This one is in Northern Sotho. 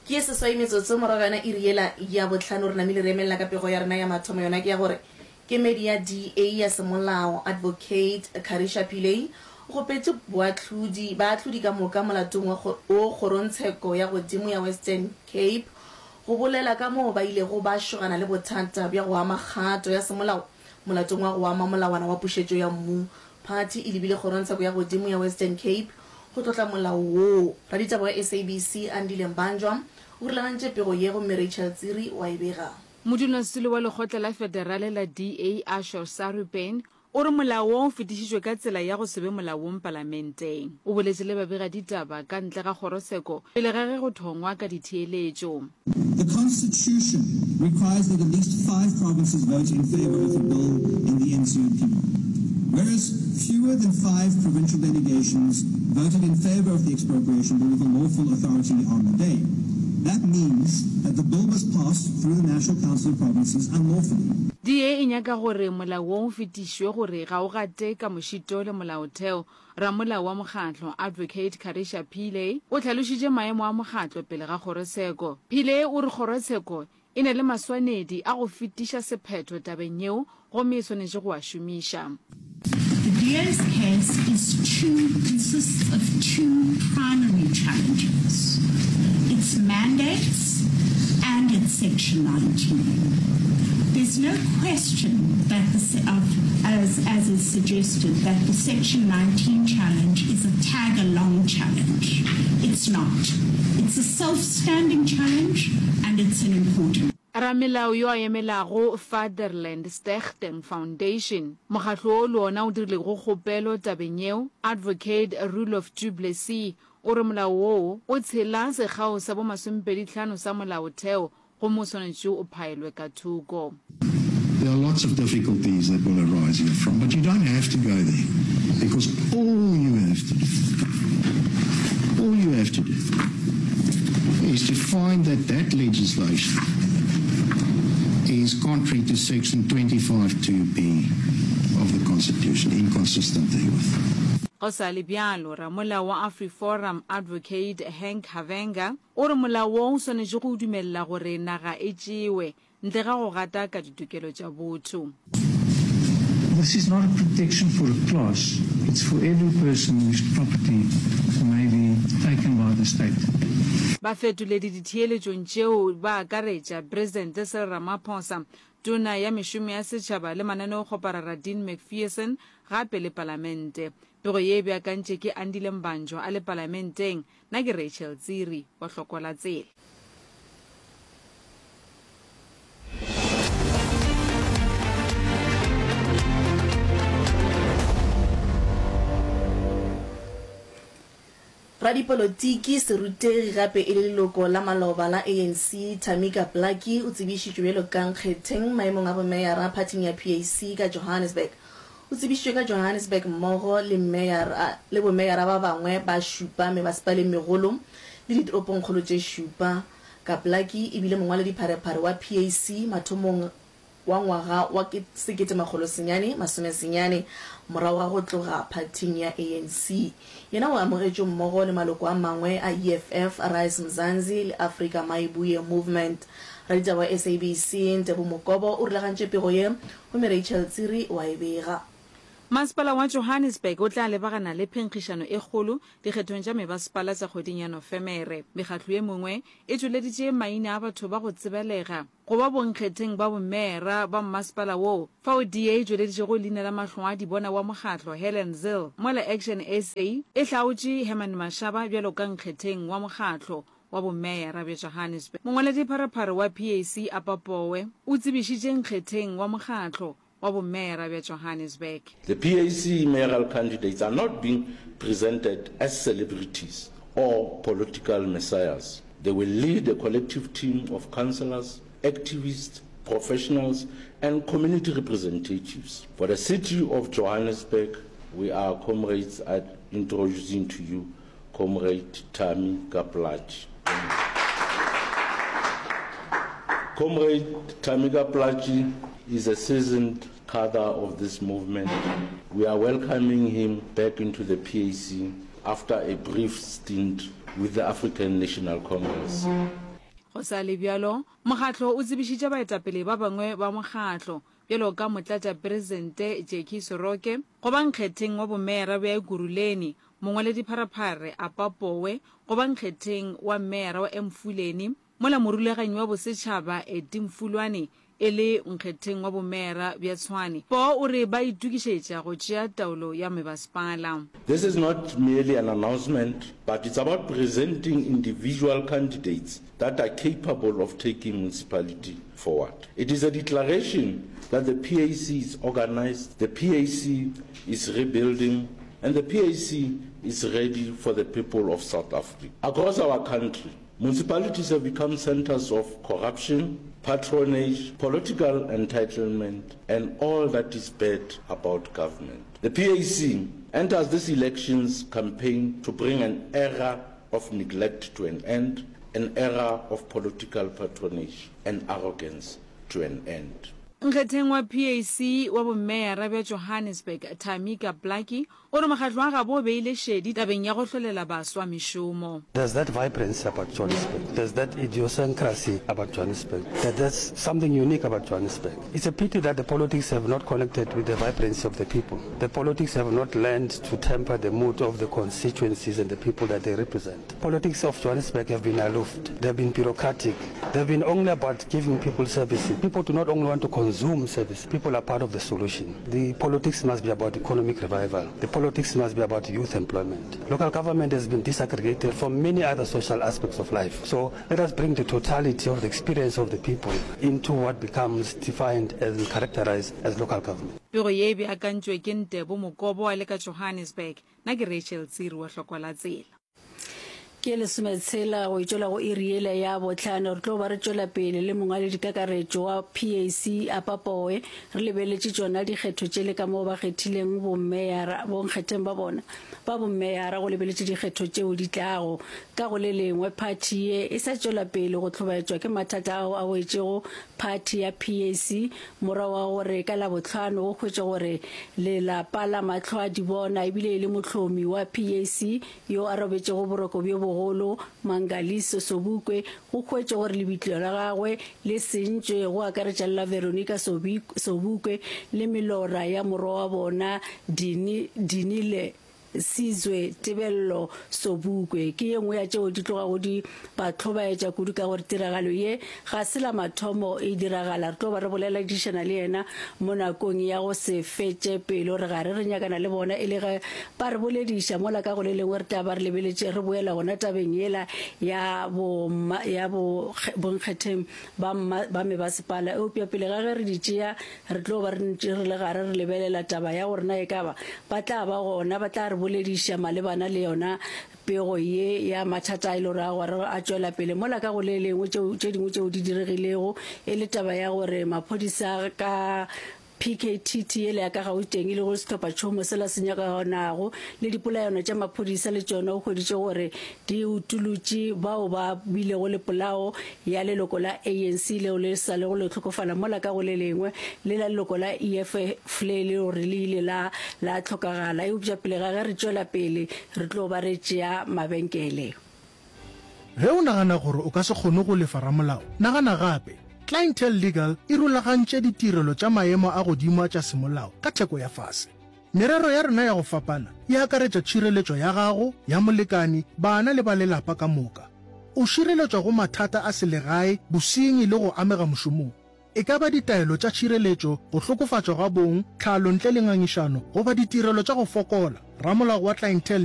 Ke ye seswai metsotso morago ga yona iri yela ya bohlano re namile re emelela ka pego ya rena ya mathomo yona ke ya gore kemedi ya DA ya semolao Advocate Karisha Pillay o kgopetše boahlodi baahlodi ka moka molatong wa wo kgorongtsheko ya godimo ya Western Cape go bolela ka moo ba ilego ba šogana le bothata bja go ama kgato ya semolao molatong wa go ama molawana wa pušetšo ya mmu. Phathi e lebile kgorongtsheko ya godimo ya Western Cape go tlotla molao woo. Raditaba wa SABC Andile Mbanjwa o rulagantše pego ye gomme Rachel Tsiri o a e bega. Modulasetulo wa lekgotla la federale la DA Ashor Sarupen o re molao wo o fetišitšwe ka tsela ya go se be molaong palamenteng. O boletše le babegaditaba ka ntle ga kgorotsheko pele ga ge go thongwa ka ditheeletšo. The Constitution requires that at least five provinces vote in favour of a bill in the NCOP. Whereas fewer than five provincial delegations voted in favour of the expropriation bill with a lawful authority on the day. That means that the bill was passed through the National Council of Provinces unlawfully. DA e nyaka gore molao wo o fetišwe gore ga o gate ka mošito le molaotheo. Ramolao wa mokgatlo, Advocate Karisha Pillay, o hlalošitše maemo a mokgatlo pele ga kgorotsheko. Pillay o re kgorotsheko e na le maswanedi a go fetiša sephetho tabeng yeo gomme e swanetše go a šomiša. The DA's case is two consists of two primary challenges, its mandates and its Section 19. There's no question that the of, as, as is suggested, that the Section 19 challenge is a tag-along challenge. It's not. It's a self-standing challenge and it's an important Ramelao yo a emelago Vaderland Stichting Foundation, mokgatlo wo le wona o dirilego kgopelo tabeng yeo, Advocate Roelof du Plessis, o re molao woo o tshela sekgao sa bo masomepedihlano sa molaotheo gomme o swanetše o phaelwe ka thoko. There are lots of difficulties that will arise herefrom, but you don't have to go there because all you have to do, all you have to do is to find that that legislation is contrary to section 25.2b of the Constitution, inconsistent therewith. Go sa le bjalo, ramolao wa AfriForum Advocate Henk Havenga o re molao wo o swanetše go dumelela gore naga e tšewe ntle ga go gata ka ditokelo tša botho. This is not a protection for a class, it's for every person whose property may be taken by the state. Bafetoledi ditheeletšong tšeo ba akaretša Presidente Cyril Ramaphosa, Tona ya Mešomo ya Setšhaba le Mananeokgoparara Dean Macpherson gape le Palamente. Pego ye e beakantše ke Andile Mbanjwa a le Palamenteng. Nna ke Rachel Tsiri wa Hlokola Tsela. Radipolotiki, serutegi gape e le leloko la maloba la ANC, Tamika Plaatjie o tsebišitšwe bjalo ka nkgetheng maemong a bomeyara phathing ya PAC ka Johannesburg. O tsebišitšwe ka Johannesburg mmogo le meyara le bomeyara ba bangwe ba šupa mebasepaleng megolo le ditoropongkgolo tše šupa. Kaplaki e bile mongwaledipharephare wa PAC mathomong wa ngwaga wa 1990 morago ga go tloga phathing ya ANC. Yena o amogetšwe mmogo le maloko a mangwe a EFF, Rise Mzansi le Afrika Mayibuye Movement. Raditaba wa SABC, Ntebo Mokobo o rulagantše pego ye gomme Rachel Tsiri o a e bega. Masepala wa Johannesburg o tla lebagana le phenkgišano e kgolo dikgethong tša mebasepala tša kgweding ya Nofemere. Mekgatlo ye mengwe e tšweleditše maina a batho ba go tsebalega go ba bonkgetheng ba bomeera ba mmasepala woo, fao DA e tšweleditšego leina la mahlwaadibona wa mokgatlo Helen Zille, mola Action SA e hlaotše Herman Mashaba bjalo ka nkgetheng wa mokgatlo wa bomeyara bja Johannesburg. Mongwaledipharephare wa PAC Apa Powe o tsebišitše nkgetheng wa mokgatlo wa bomeyara bja Johannesburg. The PAC mayoral candidates are not being presented as celebrities or political messiahs. They will lead a collective team of councillors, activists, professionals and community representatives. For the city of Johannesburg, we are comrades at introducing to you Comrade Thami Plaatje. Comrade Tamika Plaatje is a seasoned cadre of this movement. We are welcoming him back into the PAC after a brief stint with the African National Congress. Go sa le bjalo, mokgatlo o tsebišitše baetapele ba bangwe ba mokgatlo, bjalo ka Motlatšapresidente Jackie Soroke, go ba nkgetheng wa bomeyara bja Ekurhuleni, mongwaledipharephare Apa Powe go ba nkgetheng wa meyara wa Emfuleni, mola morulaganyi wa bosetšhaba Eddie Mfulwane e le nkgetheng wa bomeyara bja Tshwane. Poo o re ba itokišetša go tšea taolo ya mebasepala. This is not merely an announcement, but it's about presenting individual candidates that are capable of taking municipality forward. It is a declaration that the PAC is organized, the PAC is rebuilding, and the PAC is ready for the people of South Africa. Across our country, municipalities have become centers of corruption, patronage, political entitlement, and all that is bad about government. The PAC enters this elections campaign to bring an era of neglect to an end, an era of political patronage and arrogance to an end. Nkgetheng wa PAC wa bomeyara bja Johannesburg, Tamika Plaatjie, o re mokgatlo wa gabo o beile šedi tabeng ya go hlolela baswa mešomo. There's that vibrancy about Johannesburg, there's that idiosyncrasy about Johannesburg, that there's something unique about Johannesburg. It's a pity that the politics have not connected with the vibrancy of the people. The politics have not learned to temper the mood of the constituencies and the people that they represent. Politics of Johannesburg have been aloof, they've been bureaucratic, they've been only about giving people services. People do not only want to consume services, people are part of the solution. The politics must be about economic revival. The politics must be about youth employment. Local government has been disaggregated from many other social aspects of life. So let us bring the totality of the experience of the people into what becomes defined and characterized as local government. Pego ye e beakantšwe ke Ntebo Mokobo a le ka Johannesburg. Nna ke Rachel Tsiri wa Hlokwa la Tsela. Ke lesometshela go itšwela go iri yela ya bohlano. Re tlo ba re tšwela pele le mongwaledikakaretšo wa PAC Apa Powe re lebeletše tšona dikgetho tšele ka moo ba kgethileng bommeyara bonkgetheng ba bona ba bommeyara go lebeletše dikgetho tšeo di tlago. Ka go le lengwe phathi ye e sa tšwela pele go hlobaetšwa ke mathata ao a wetšego phathi ya PAC morago ga gore ka Labohlano go hwetšwe gore lelapa la Mahlwaadibona ebile e le mohlomi wa PAC yo a robetšego boroko bjo bogolo, Mangaliso Sobukwe, go hwetšwe gore lebitla la gagwe le sentšwe, go akaretša le la Veronica Sobukwe le melora ya morwa wa bona Dini, Dinile Sizwe Tebello Sobukwe. Ke ye nngwe ya tšeo di tlogago di ba hlobaetša kudu ka gore tiragalo ye ga se la mathomo e diragala. Re tlo ba re boleladišana le yena mo nakong ya go se fetše pelo. Re gare re nyakana le bona e le ge ba re bolediša, mola ka go le lengwe re tla ba re lebeletše re boela gona tabeng yela ya bo ya bo bonkgetheng ba mma ba mebasepala. Eupša pele ga ge re di tšea, re tlo ba re ntše re le gare re lebelela taba ya gore na ekaba ba tla ba gona ba tla re bolediša malebana le yona pego ye ya mathata a e le gore a gore a tšwela pele mola ka go le lengwe tšeo tše dingwe tšeo di diregilego e le taba ya gore maphodisa ka PKTT yela ya ka Gauteng e lego sehlophatšhomo sela se nyakanago le dipolayano tša maphodisa le tšona o hweditše gore di utolotše bao ba bilego le polao ya leloko la ANC leo le sa lego le hlokofala mola ka go le lengwe le la leloko la EFF le le gore le ile la la hlokagala. Eupša pele ga ge re tšwela pele re tlo ba re tšea mabenkele. Ge o nagana gore o ka se kgone go lefa ramolao, nagana gape. Clientele Legal e rulagantše ditirelo tša maemo a godimo a tša semolao ka theko ya fase. Merero ya rena ya go fapana e akaretša tšhireletšo ya gago, ya molekani, bana le ba lelapa ka moka. O šireletšwa go mathata a selegae, bosenyi le go amega mošomong. E ka ba ditaelo tša tšhireletšo, go hlokofatšwa ga bong, tlhalo ntle le ngangišano, goba ditirelo tša go fokola, ramolao wa Clientele.